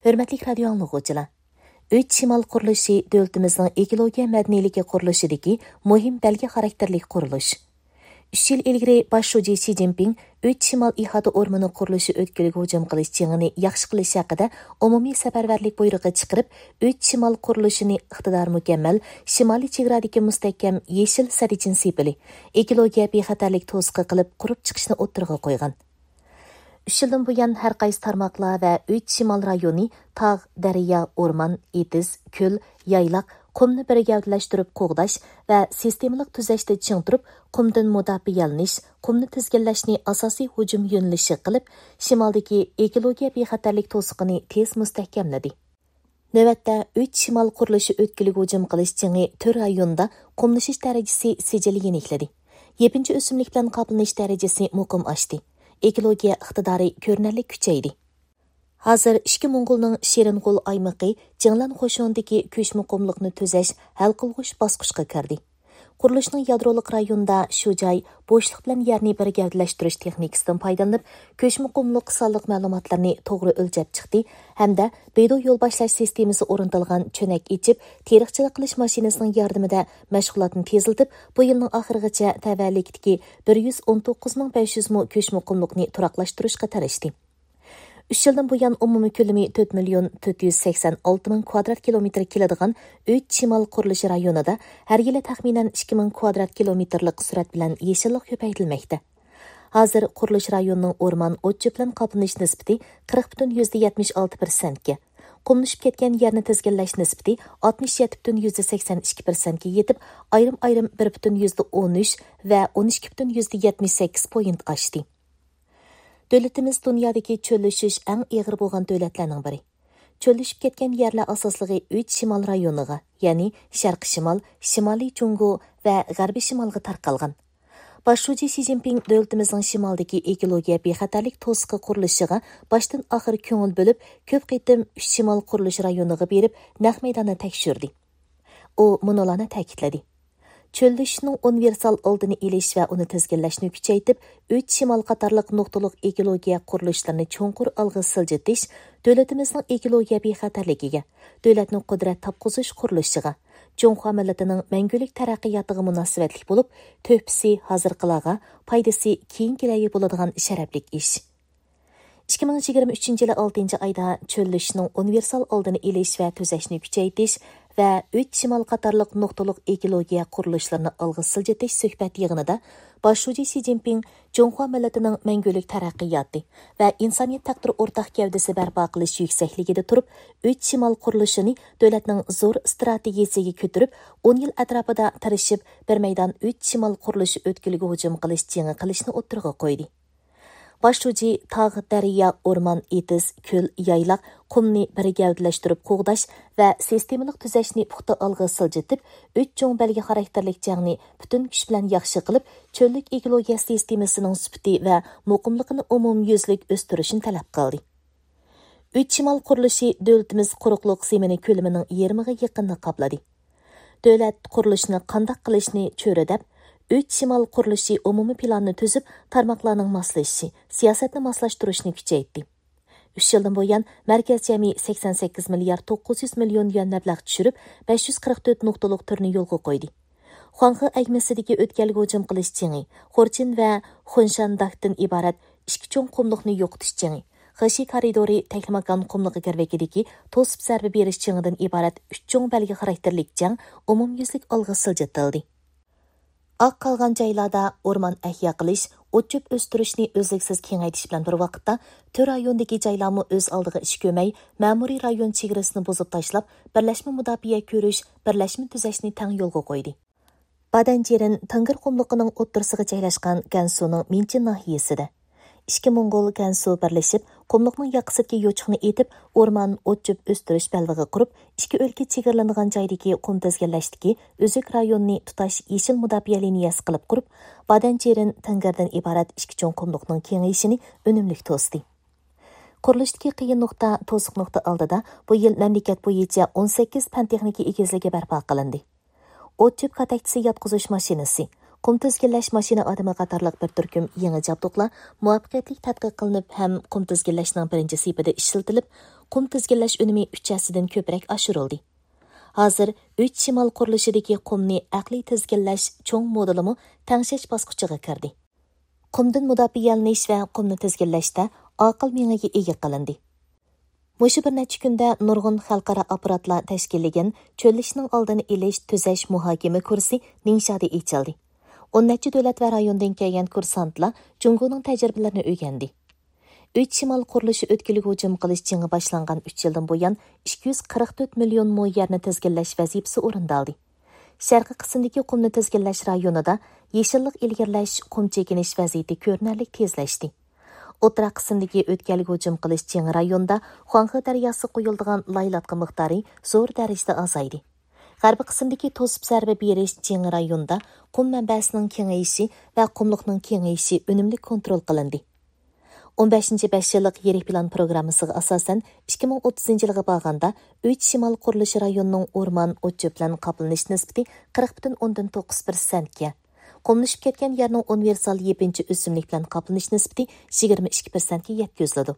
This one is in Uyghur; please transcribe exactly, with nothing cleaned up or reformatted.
ھۆرمەتلىك رادىيو ئاڭلىغۇچىلار! ئۈچ شىمال قۇرۇلۇشى دۆلىتىمىزنىڭ ئېكولوگىيە مەدەنىيلىكى قۇرۇلۇشىدىكى مۇھىم بەلگە خاراكتېرلىك قۇرۇلۇش. ئۈچ يىل ئىلگىرى باش شۇجى شى جىنپىڭ ئۈچ شىمال ئىھاتە ئورمىنى قۇرۇلۇشى ئۆتكىلىگە ھۇجۇم قىلىش جېڭىنى ياخشى قىلىش ھەققىدە ئومۇمىي سەپەرۋەرلىك بۇيرۇقى چىقىرىپ، ئۈچ شىمال قۇرۇلۇشىنى ئىقتىدارى مۇكەممەل شىمالىي چېگرادىكى مۇستەھكەم يېشىل سەددىچىن سېپىلى، ئېكولوگىيە بىخەتەرلىك توسۇقى قىلىپ قۇرۇپ چىقىشنى ئوتتۇرىغا قويغان. ئۈچ يىلدىن بۇيان، ھەر قايسى تارماقلار ۋە ئۈچ شىمال رايونى تاغ، دەريا، ئورمان، ئېتىز، كۆل، يايلاق، قۇمنى بىر گەۋدىلەشتۈرۈپ قوغداش ۋە سىستېمىلىق تۈزەشتە چىڭ تۇرۇپ، قۇمدىن مۇداپىئەلىنىش، قۇمنى تىزگىنلەشنى ئاساسىي ھۇجۇم يۆنىلىشى قىلىپ، شىمالدىكى ئېكولوگىيە بىخەتەرلىك توسۇقىنى تېز مۇستەھكەملىدى. نۆۋەتتە، ئۈچ شىمال قۇرۇلۇشى ئۆتكىلىگە ھۇجۇم قىلىش جېڭى تۆت رايوندا قۇملىشىش دەرىجىسى سىجىل يېنىكلىدى. يېپىنچا ئۆسۈملۈك بىلەن قاپلىنىش دەرىجىسى مۇقىم ئاشتى. ئېكولوگىيە ئىقتىدارى كۆرۈنەرلىك كۈچەيدى. ھازىر ئىككى موڭغۇلنىڭ شېرىنغول ئايمىقى جىڭلەن قوشۇنىدىكى كۆچمە قۇملۇقنى تۈزەش ھەل قىلغۇچ باسقۇچقا كىردى. قۇرۇلۇشنىڭ يادرولۇق رايونىدا شۇ جاي بوشلۇق بىلەن يەرنى بىر گەۋدىلەشتۈرۈش تېخنىكىسىدىن پايدىلىنىپ، كۆچمە قۇملۇق سانلىق مەلۇماتلىرىنى توغرا ئۆلچەپ چىقتى ھەمدە بىدو يول باشلاش سىستېمىسى ئورنىتىلغان چۆنەك ئېچىپ، تېرىقچىلىق قىلىش ماشىنىسىنىڭ ياردىمىدە مەشغۇلاتنى تېزلىتىپ، بۇ يىلنىڭ ئاخىرىغىچە تەۋەلىكتىكى بىر يۈز ئون توققۇز مىڭ بەش يۈز مو كۆچمە قۇملۇقنى تۇراقلاشتۇرۇشقا تىرىشتى. ئۈچ يىلدىن بۇيان، ئومۇمىي كۆلىمى تۆت مىليون تۆت يۈز سەكسەن ئالتە مىڭ كۋادرات كىلومېتىر كېلىدىغان ئۈچ شىمال قۇرۇلۇشى رايونىدا ھەر يىلى تەخمىنەن ئىككى مىڭ كۋادرات كىلومېتىرلىق سۈرئەت بىلەن يېشىللىق كۆپەيتىلمەكتە. ھازىر قۇرۇلۇش رايونىنىڭ ئورمان، ئوت-چۆپ بىلەن قاپلىنىش نىسبىتى قىرىق پۈتۈن يۈزدە يەتمىش ئالتە پىرسەنتكە، قۇملىشىپ كەتكەن يەرنى تىزگىنلەش نىسبىتى ئاتمىش يەتتە پۈتۈن يۈزدە سەكسەن ئىككى پىرسەنتكە يېتىپ، ئايرىم-ئايرىم بىر پۈتۈن يۈزدە ئون ئۈچ ۋە ئون ئىككى پۈتۈن يۈزدە يەتمىش سەككىز پوينت ئاشتى. دۆلىتىمىز دۇنيادىكى چۆللىشىش ئەڭ ئېغىر بولغان دۆلەتلەرنىڭ بىرى. چۆللىشىپ كەتكەن يەرلەر ئاساسلىقى ئۈچ شىمال رايونىغا، يەنى شەرقىي شىمال، شىمالىي جۇڭگو ۋە غەربىي شىمالغا تارقالغان. باش شۇجى شى جىنپىڭ دۆلىتىمىزنىڭ شىمالدىكى ئېكولوگىيە بىخەتەرلىك توسۇقى قۇرۇلۇشىغا باشتىن ئاخىر كۆڭۈل بۆلۈپ، كۆپ قېتىم ئۈچ شىمال قۇرۇلۇشى رايونىغا بېرىپ، نەق مەيداندا تەكشۈردى. ئۇ مۇنۇلارنى تەكىتلىدى: چۆللىشىشنىڭ ئۇنىۋېرسال ئالدىنى ئېلىش ۋە ئۇنى تىزگىنلەشنى كۈچەيتىپ، ئۈچ شىمال قاتارلىق نۇقتىلىق ئېكولوگىيە قۇرۇلۇشلىرىنى چوڭقۇر ئالغا سىلجىتىش دۆلىتىمىزنىڭ ئېكولوگىيە بىخەتەرلىكىگە، دۆلەتنىڭ قۇدرەت تاپقۇزۇش قۇرۇلۇشىغا، جۇڭخۇا مىللىتىنىڭ مەڭگۈلۈك تەرەققىياتىغا مۇناسىۋەتلىك بولۇپ، تۆھپىسى ھازىرقىلارغا، پايدىسى كېيىنكىلەرگە بولىدىغان شەرەپلىك ئىش. ئىككى مىڭ يىگىرمە ئۈچىنچى يىلى ئالتىنچى ئايدا چۆللىشىشنىڭ ئۇنىۋېرسال ئالدىنى ئېلىش ۋە تۈزەشنى كۈچەيتىش ۋە ئۈچ شىمال قاتارلىق نۇقتىلىق ئېكولوگىيە قۇرۇلۇشلىرىنى ئالغا سىلجىتىش سۆھبەت يىغىنىدا باش شۇجى شى جىنپىڭ جۇڭخۇا مىللىتىنىڭ مەڭگۈلۈك تەرەققىياتى ۋە ئىنسانىيەت تەقدىرى ئورتاق گەۋدىسى بەرپا قىلىش يۈكسەكلىكىدە تۇرۇپ، ئۈچ شىمال قۇرۇلۇشىنى دۆلەتنىڭ زور ئىستراتېگىيىسىگە كۆتۈرۈپ، ئون يىل ئەتراپىدا تىرىشىپ، بىر مەيدان ئۈچ شىمال قۇرۇلۇشى ئۆتكىلىگە ھۇجۇم قىلىش جېڭى قىلىشنى ئوتتۇرىغا قويدى. باش شۇجى تاغ، دەريا، ئورمان، ئېتىز، كۆل، يايلاق، قۇمنى بىر گەۋدىلەشتۈرۈپ قوغداش ۋە سىستېمىلىق تۈزەشنى پۇختا ئالغا سىلجىتىپ، ئۈچ چوڭ بەلگە خاراكتېرلىك جەڭنى پۈتۈن كۈچ بىلەن ياخشى قىلىپ، چۆللۈك ئېكولوگىيە سىستېمىسىنىڭ سۈپىتى ۋە مۇقىملىقىنى ئومۇميۈزلۈك ئۆستۈرۈشنى تەلەپ قىلدى. ئۈچ شىمال قۇرۇلۇشى دۆلىتىمىز قۇرۇقلۇق زېمىنى كۆلىمىنىڭ يېرىمىغا يېقىنىنى قاپلىدى. دۆلەت قۇرۇلۇشنى قانداق قىلىشنى چۆرىدەپ، ئۈچ شىمال قۇرۇلۇشى ئومۇمىي پىلانىنى تۈزۈپ، تارماقلارنىڭ ماسلىشىشى، سىياسەتنى ماسلاشتۇرۇشنى كۈچەيتتى. ئۈچ يىلدىن بۇيان، مەركەز جەمئىي سەكسەن سەككىز مىليارد توققۇز يۈز مىليون يۈەن مەبلەغ چۈشۈرۈپ، بەش يۈز قىرىق تۆت نۇقتىلىق تۈرنى يولغا قويدى. خۇاڭخې ئەگمىسىدىكى ئۆتكەلگە ھۇجۇم قىلىش جېڭى، خورچىن ۋە خۇنشانداكتىن ئىبارەت ئىككى چوڭ قۇملۇقنى يوقىتىش جېڭى، خېشى كارىدورى تەكلىماكان قۇملۇقى گىرۋىكىدىكى توسۇپ زەربە بېرىش جېڭىدىن ئىبارەت ئۈچ چوڭ بەلگە خاراكتېرلىك جەڭ ئومۇميۈزلۈك ئالغا سىلجىتىلدى. ئاق قالغان جايلاردا ئورمان ئەھيا قىلىش، ئوت-چۆپ ئۆستۈرۈشنى ئۈزلۈكسىز كېڭەيتىش بىلەن بىر ۋاقىتتا، تۆت رايوندىكى جايلارمۇ ئۆز ئالدىغا ئىش كۆرمەي، مەمۇرىي رايون چېگرىسىنى بۇزۇپ تاشلاپ، بىرلەشمە مۇداپىئە كۆرۈش، بىرلەشمە تۈزەشنى تەڭ يولغا قويدى. بادەنجىرىن تېڭگىر قۇملۇقىنىڭ ئوتتۇرىسىغا جايلاشقان گەنسۇنىڭ مىنچىن ناھىيەسىدە، ئىككى موڭغۇل گەنسۇ بىرلىشىپ، قۇملۇقنىڭ ياقىسىدىكى يوچۇقنى ئېتىپ، ئورمان، ئوت-چۆپ ئۆستۈرۈش بەلبېغى قۇرۇپ، ئىككى ئۆلكە چېگرىلىنىدىغان جايدىكى قۇم تىزگىنلەشتىكى ئۈزۈك رايوننى تۇتاش يېشىل مۇداپىئە لىنىيەسى قىلىپ قۇرۇپ، بادەنجىرىن تېڭگىردىن ئىبارەت ئىككى چوڭ قۇملۇقنىڭ كېڭىيىشىنى ئۈنۈملۈك توستى. قۇرۇلۇشتىكى قىيىن نۇقتا، توسۇق نۇقتا ئالدىدا بۇ يىل مەملىكەت بويىچە ئون سەككىز پەن تېخنىكا ئېگىزلىكى بەرپا قىلىندى. ئوت-چۆپ كاتەكچىسى ياتقۇزۇش ماشىنىسى، قۇم تىزگىنلەش ماشىنا ئادىمى قاتارلىق بىر تۈركۈم يېڭى جابدۇقلار مۇۋەپپەقىيەتلىك تەتقىق قىلىنىپ ھەم قۇم تىزگىنلەشنىڭ بىرىنچى سېپىدە ئىشلىتىلىپ، قۇم تىزگىنلەش ئۈنۈمى ئۈچ ھەسسىدىن كۆپرەك ئاشۇرۇلدى. ھازىر ئۈچ شىمال قۇرۇلۇشىدىكى قۇمنى ئەقلىي تىزگىنلەش چوڭ مودېلىمۇ تەڭشەش باسقۇچىغا كىردى. قۇمدىن مۇداپىئەلىنىش ۋە قۇمنى تىزگىنلەشتە ئاقىل مېڭىگە ئىگە قىلىندى. مۇشۇ بىر نەچچە كۈندە نۇرغۇن خەلقئارا ئاپپاراتلار تەشكىللىگەن چۆللىشىشنىڭ ئالدىنى ئېلىش تۈزەش مۇھاكىمە كۇرسى نىڭشادا ئېچىلدى. ئون نەچچە دۆلەت ۋە رايوندىن كەلگەن كۇرسانتلار جۇڭگونىڭ تەجرىبىلىرىنى ئۆگەندى. ئۈچ شىمال قۇرۇلۇشى ئۆتكىلىگە ھۇجۇم قىلىش جېڭى باشلانغان ئۈچ يىلدىن بۇيان، ئىككى يۈز قىرىق تۆت مىليون مو يەرنى تىزگىنلەش ۋەزىپىسى ئورۇندالدى. شەرقىي قىسىمدىكى قۇمنى تىزگىنلەش رايونىدا يېشىللىق ئىلگىرىلەش، قۇم چېكىنىش ۋەزىيىتى كۆرۈنەرلىك تېزلەشتى. ئوتتۇرا قىسىمدىكى ئۆتكەلگە ھۇجۇم قىلىش جېڭى رايونىدا خۇاڭخې دەرياسىغا قويۇلىدىغان لاي لاتقا مىقدارى زور دەرىجىدە ئازايدى. غەربىي قىسىمدىكى توسۇپ زەربە بېرىش جېڭى رايونىدا قۇم مەنبەسىنىڭ كېڭىيىشى ۋە قۇملۇقنىڭ كېڭىيىشى ئۈنۈملۈك كونترول قىلىندى. ئون بەشىنچى بەش يىللىق يىرىك پىلان پروگراممىسىغا ئاساسەن، ئىككى مىڭ ئوتتۇزىنچى يىلغا بارغاندا ئۈچ شىمال قۇرۇلۇشى رايونىنىڭ ئورمان، ئوت-چۆپ بىلەن قاپلىنىش نىسبىتى قىرىق پۈتۈن ئوندىن توققۇز پىرسەنتكە، قۇملىشىپ كەتكەن يەرنىڭ ئۇنىۋېرسال يېپىنچا ئۆسۈملۈك بىلەن قاپلىنىش نىسبىتى يىگىرمە ئىككى پىرسەنتكە يەتكۈزۈلىدۇ.